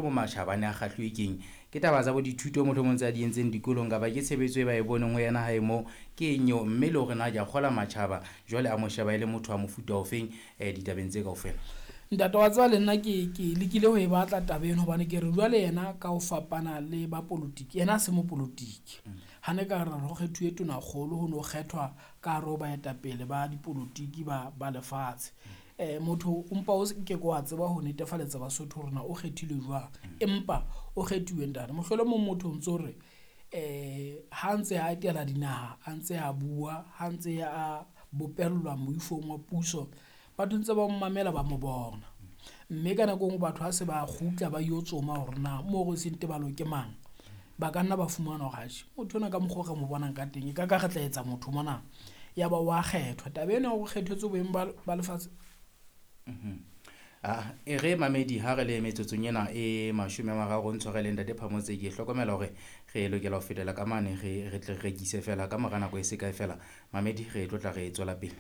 Bo matjhaba a ne a kgahluwe keng? Ke taba tsa bo dithuto mohlomong tse a di entseng dikolong kapa ke tshebetso e ba e boneng ho yena hae moo? Ke eng eo? Mme le hore na ke a kgola matjhaba jwale a mo sheba e le motho wa mofuta ofeng ditabeng tse kaofela? Ntate wa tseba le nna ke lekile ho e batla taba eno hobane ke re jwale yena ka ho fapana le ba polotiki, yena ha se mopolotiki. Ha ne ka re ho kgethuwe tonakgolo ho no kgethwa ka hare ho baetapele ba dipolotiki ba lefatshe. Motho o mpa o ke ke wa tseba ho netefaletsa Basotho hore na o kgethilwe jwang, empa o kgethuwe ntate. Mohlolomong motho o ntso re ha ntse a etela dinaha, a ntse a bua, ha ntse a bopellwa moifong wa puso, batho ntse ba mo mamela ba mo bona. Mme ka nako e nngwe batho ha se ba kgutla ba yo tsoma hore na Moorosi Ntebalo ke mang, ba ka nna ba fumana hore atjhe motho ona ka mokgwa o re mo bonang ka teng, e ka ka re tla etsa motho mona, ya ba wa kgethwa. Taba ena ya hore o kgethetswe boemo ba lefatshe. E re mamedi ha re le metsotsong ena e 30 ntshwareleng ntate Phamotse, ke hlokomela hore re lokela ho fetela ka mane re tle re rekise fela ka mora nako e se kae fela. Mamedi re tlo tla re tswela pele.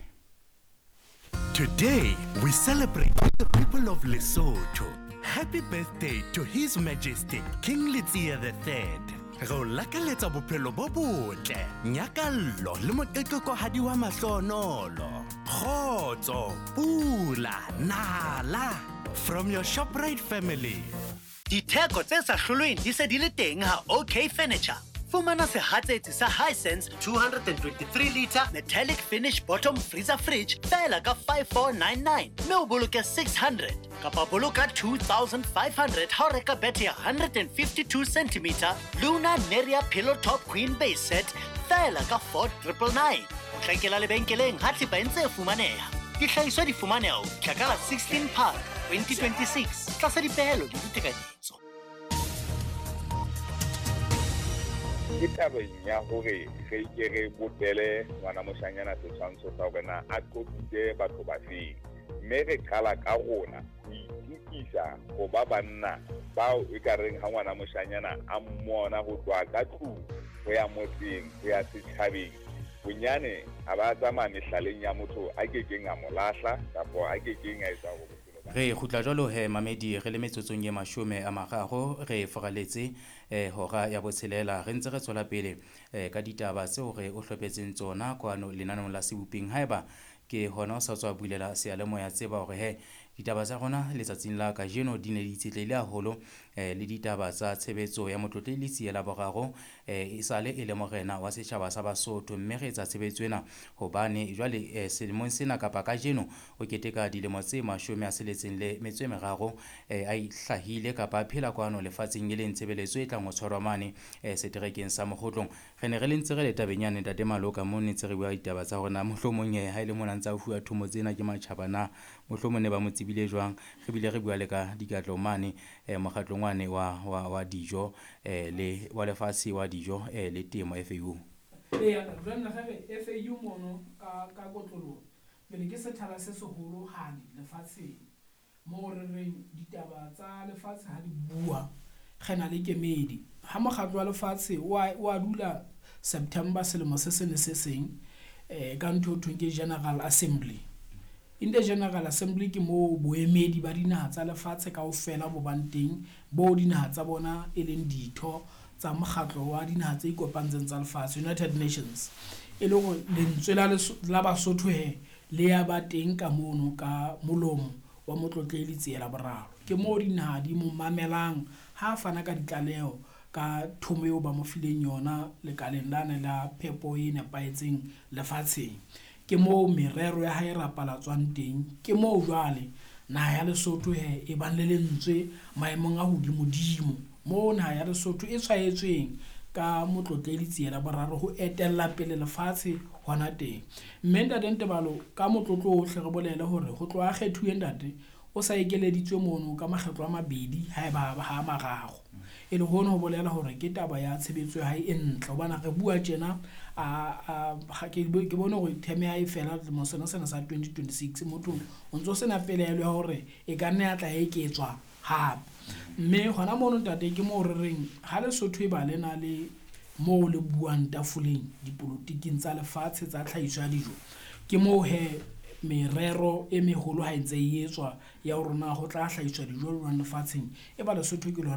Today we celebrate the people of Lesotho. Happy birthday to His Majesty King Letsie the Third. Re o lakaletsa bophelo bo botle, nyakallo le moqeqekohadi wa mahlonolo. Kgotso, pula, nala. From your ShopRite family. Ditheko tse sa hlolweng di se di le teng ha OK Furniture. Fumana sehatsetsi sa Hisense 223 liter metallic finish bottom freezer fridge feela ka 5499 mme o boloke 600 kapa boloka 2500 ha o reka bethe ya 152 cm Luna Neria Pillow Top Queen Base Set feela ka 4999. Potlakela lebenkeleng ha thepa e ntse e fumaneha. Dihlahiswa di fumaneha ho fihla ka la 16 Phato 2026 tlasa dipehelo le ditekanyetso. Ke tabeng ya hore re ke re bopele ngwana moshanyana setshwantsho sa hore na a qotsitse batho ba feng, mme re qala ka rona ho itukisa ho ba banna bao e ka reng ha ngwana moshanyana a mmona ho tloha ka tlung ho ya motseng ho ya setjhabeng, bonyane a ba tsamaya mehlaleng ya motho a kekeng a mo lahla kapa a kekeng a etsa hore bophelo ba Re kgutla jwalo he mamedi re le metsotsong e 30 re foraletse hora ya 6 re ntse re tswela pele ka ditaba tseo re o hlophetseng tsona kwano lenaneong la Seboping. Haeba ke hona o sa tswa bulela seyalemoya, tseba hore he ditaba tsa rona letsatsing la kajeno di ne di itshetlehile haholo le ditaba tsa tshebetso ya Motlotlehi Letsie la boraro e sale e le morena wa setjhaba sa Basotho, mme re etsa tshebetso ena hobane jwale selemong sena kapa kajeno o keteka dilemo tse 63 a ihlahile kapa a phela kwano lefatsheng, e leng tshebeletso e tlang ho tshwarwa mane seterekeng sa Mokgotlong. Re ne re le ntse re le tabeng yane ntate Maloka, mo ne ntse re bua ditaba tsa hore na mohlomong ha e le mona ntse a fuwa thomo tsena ke matjhaba na mohlomong ne ba mo tsebile jwang. Re bile re bua le ka dikatlo mane mokgatlong wane wa dijo le wa lefatshe wa dijo le temo FAO. Eya, jwale re FAO mono ka kotloloho pele ke sethala se seholohadi lefatsheng moo re reng ditaba tsa lefatshe ha di bua re na le kemedi. Ha mokgatlo wa lefatshe wa dula September selemo se seng le se seng ka ntho e thweng ke General Assembly. In the General Assembly ke moo boemedi ba dinaha tsa lefatshe kaofela bo bang teng, bo dinaha tsa bona e leng ditho tsa mokgatlo wa dinaha tse ikopantseng tsa lefatshe, United Nations. E le hore lentswe la Basotho he le ya ba teng ka mono ka molomo wa Motlotlehi Letsie la boraro. Ke moo dinaha di mo mamelang ha fana ka ditlaleho ka thomo eo ba mo fileng yona lekaleng lane la phepo e nepahetseng lefatsheng. Ke moo merero ya hae e rapalatswang teng. Ke moo jwale naha ya Lesotho he e bang le lentswe maemong a hodimodimo, moo naha ya Lesotho e tshwaetsweng ka Motlotlehi Letsie la boraro ho etella pele lefatshe hona teng. Mme ntate Ntebalo, ka motlotlo ohle re bolele hore ho tloha kgethuwe ntate o sa ekeleditswe mono ka makgetlo a mabedi haeba ha mararo. E le hono ho bolela hore ke taba ya tshebetso ya hae e ntle, hobane re bua tjena ke bone hore term ya hae fela selemo sena sena sa 2026, motho o ntso sena pelaelo ya hore e ka nna ya tla eketswa hape. Mme hona mono ntate ke moo re reng ha Lesotho e ba le na le moo le buang tafoleng dipolotiking tsa lefatshe tsa tlhahiso ya dijo, ke moo he merero e meholo ha e ntse e etswa ya hore na ho tla hlahiswa dijo jwang lefatsheng, e ba Lesotho ke lona.